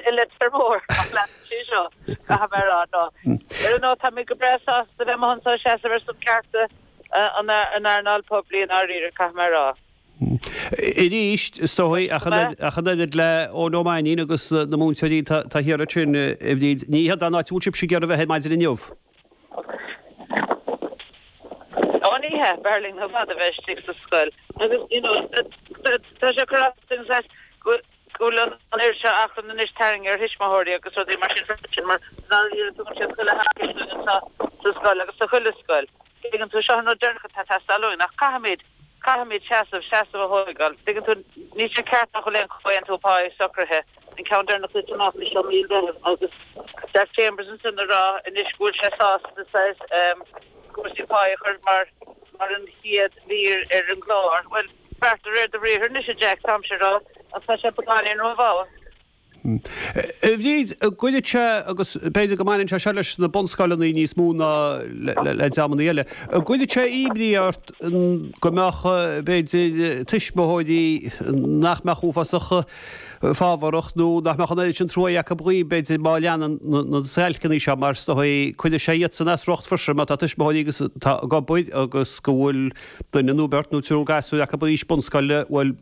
i Leitir Móir ach leanann sé seo, caithfidh mé a rá. No. Ar aon nós, tá mé go breá sásta a bheith amuigh anseo ag seasamh ar son cearta an earnáil poiblí i ndáiríre, caithfidh mé a rá. Arís, is dóigh, ach an oiread le Eoin Ó Mainnín agus na múinteoirí atá thiar ansin, a Bhríd, ní hiod an áit a bhfuil sibhse ag iarraidh a bheith ar maidin inniu. Ó ní hea, b'fhearr linn i bhfad a bheith istigh sa scoil agus you know tá sé cur as dúinn saghas go bhfuil an oiread seo achrann anois tarraingthe ar thuismitheoirí agus rudaí mar sin freisin mar dáiríre tugann siad chuile thacaíocht dúinn anseo sa scoil agus sa chuile scoil. Tuigeann tú, seo an rud deireanach atá ag teastáil uainn ach caithfimid, caithfimid seasamh, seasamh a thóigeáil. Tuigeann tú, níl sé ceart nach bhfuil aon chomhaontú páí socraithe, an ceann deireanach tite amach anois ó mí an Mheithimh agus Jack Chambers ansin ag rá anois go bhfuil sé sásta saghas cúrsaí páí a chur mar, mar an chéad mhír ar an gclár. Bhuel, beart de réir do bhriathair anois a Jack, táimse ag rá, ach tá sé beagáinín rómhall. A Bhríd, an gcuirfeadh sé, agus b'fhéidir go mbaineann sé seo leis na bunscoileanna níos mó ná le dreamanna eile, an gcuirfeadh sé imní ort go mbeadh, b'fhéidir, tuismitheoirí nach mbeadh uafásach fábharach nó nach mbeadh an oiread sin truaí acu dhaoib, b'fhéidir, má leanann na stailceanna seo, mar is dóigh, cuirfidh sé iadsan as riocht freisin má tá tuismitheoirí agus atá ag obair agus go bhfuil duine nó beirt nó triúr gasúir acu in aois bunscoile, bhuel,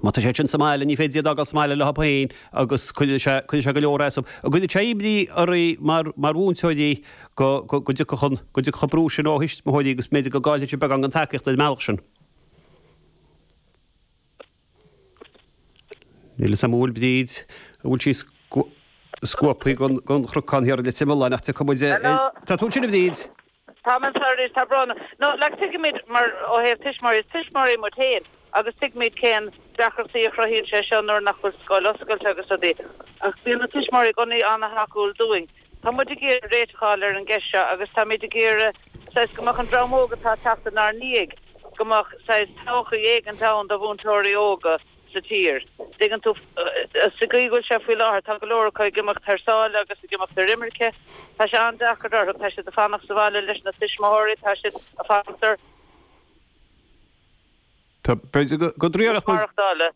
Má tá siad sin sa mbaile, ní féidir iad a fhágáil sa mbaile leo féin agus cuirfidh sé, cuirfidh sé go leor as. An gcuirfeadh sé imní oraibh mar, mar mhúinteoirí go, go, go dtiocfadh an, go dtiocfadh an brú sin ó thuismitheoirí agus b'fhéidir go gcaillfidh sibh beagán den tacaíocht ar an mbealach sin? Níl a fhios agam an bhfuil Bríd, an bhfuil sí scuabtha den, den chnocán thiar i Leitir Mealláin ach tiocfaidh muid ar, tá tú ansin a Bhríd? Tá mé anseo arís, tá brón orm. No, like, tuigimid mar ó thaobh tuismitheoirí, is tuismitheoirí muid féin agus tuigimid cén deacrachtaí a chruthaíonn sé seo nuair nach bhfuil scoil oscailte agus rudaí. Ach bíonn na tuismitheoirí i gcónaí an-thacúil dúinn. Tá muid ag iarraidh réiteach a fháil ar an gceist seo agus táimid ag iarraidh saghas go mbeadh an dream óg atá ag teacht inár ndiaidh, go mbeadh saghas todhchaí éigint ann do mhúinteoirí óga. sa tír. Tuigeann tú, sa gcaoi go bhfuil sé faoi láthair, tá go leor acu ag imeacht thar sáile agus ag imeacht ar imirce. Tá sé an-deacair orthu, tá siad ag fanacht sa bhaile leis na tuismitheoirí, tá siad ag fanacht ar. Tá, b'fhéidir go dtriailfeadh muid. maireachtála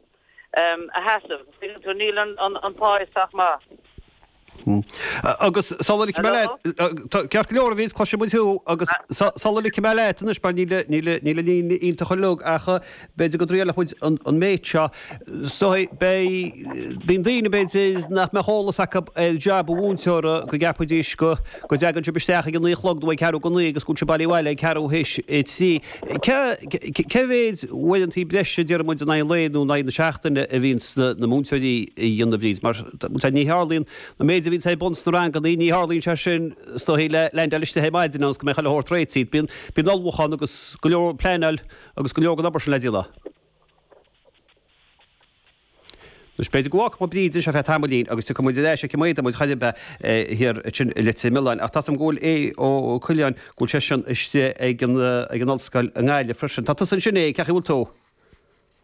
a sheasamh. Tuigeann tú, níl an pá sách maith. Agus sula ligfidh mé leat, ceart go leor a Bhríd, cloisfidh muid thú, agus sula ligfidh mé leat anois, mar níl an líne iontach uilig, ach b'fhéidir go dtriailfeadh muid an méid seo. Is dóigh, beidh, bíonn daoine b'fhéidir nach mbeadh eolas acu ar jab an mhúinteora, go gceapfaidís go dtagann sibh isteach ag a naoi a chlog nó ag ceathrú go naoi agus go bhfuil sibh bailithe abhaile ag ceathrú théis a trí. Cé mhéid uaireantaí breise, déarfaidh muid, in aghaidh an lae nó in aghaidh na seachtaine a bhíonns na múinteoirí a dhéanamh, a Bhríd? Mar ní tharlaíonn an méid a bhíonns ar bun sna ranganna, ní tharlaíonn sé sin is dóigh le leaindeáil istigh ar maidin ionas go mbeidh chuile shórt réitithe. Bíonn bíonn ullmhúchán agus go leor pleanáil agus go leor den obair sin le déanamh. Anois, b'fhéidir go bhfágfaidh muid Bríd anseo feadh tamaillín agus tiocfaidh muid ar ais aici má fhéadann muid chor ar bith thiar ansin i Leitir Mealláin. Ach tá 's agam go bhfuil Aodh Ó Coileáin, go bhfuil seisean istigh ag an ag an ollscoil i nGaillimh freisin. Tá tusa ansin, a Aodh, cén chaoi a bhfuil tú?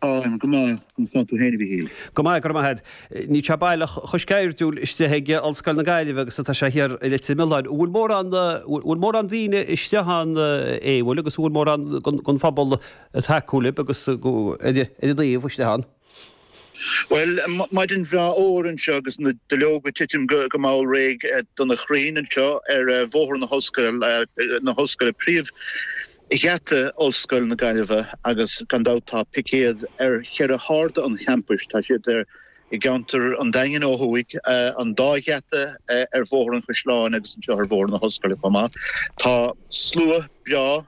Táim go maith, conas tánn tú féin a Mhichíl? Go maith, go raibh maith agat. Níl sé baileach chomh sceirdiúil istigh ag Ollscoil na Gaillimhe agus atá sé thiar i Leitir Mealláin. An bhfuil mórán, bhfuil mórán daoine istigh ann, a Aodh, bhfuil agus an bhfuil mórán den phobal ag tacú libh agus ar an dtaobh istigh ann? Bhuel, maidin bhreá fhómhair anseo agus na duilleoga ag titim go mall réidh do na crainn anseo ar Bhóthar na hOllscoile, príomhgheata Ollscoil na Gaillimhe agus gan dabht tá picéad ar cheithre harda an champais. Tá siad ar i gceantar an Daingin ó thuaidh, an dá gheata ar Bhóthar an Chaisleáin agus anseo ar Bhóthar na hOllscoile chomh maith. Tá slua breá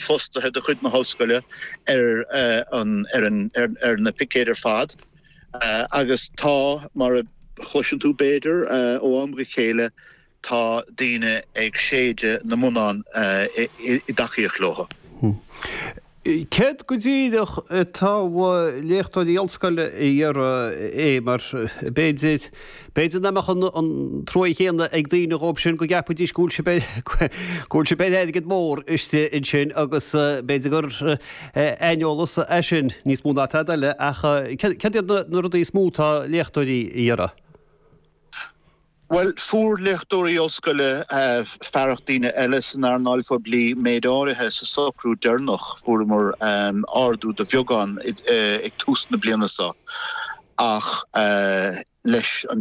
fostaithe de chuid na hOllscoile ar ar na picéid ar fad agus tá, mar a chloiseann tú b'fhéidir ó am go chéile, tá daoine ag séideadh na mbonnán i dtacaíocht leo. Céard go díreach atá léachtóirí ollscoile a iarraidh é mar b'fhéidir, b'fhéidir nach mbeadh an trua chéanna ag daoine dhóibh sin go gceapfaidís go bhfuil sibh go bhfuil sibh ar airgead mór istigh ansin agus b'fhéidir gur aineolas é sin níos mó ná tada eile ach céard iad na rudaí is mó atá léachtóirí a iarraidh? Bhuel, fuair léachtóirí ollscoile, fearacht daoine eile san earnáil phoiblí, méid áirithe sa socrú deireanach. Fuaireamar ardú de bheagán ag tús na bliana seo ach leis an.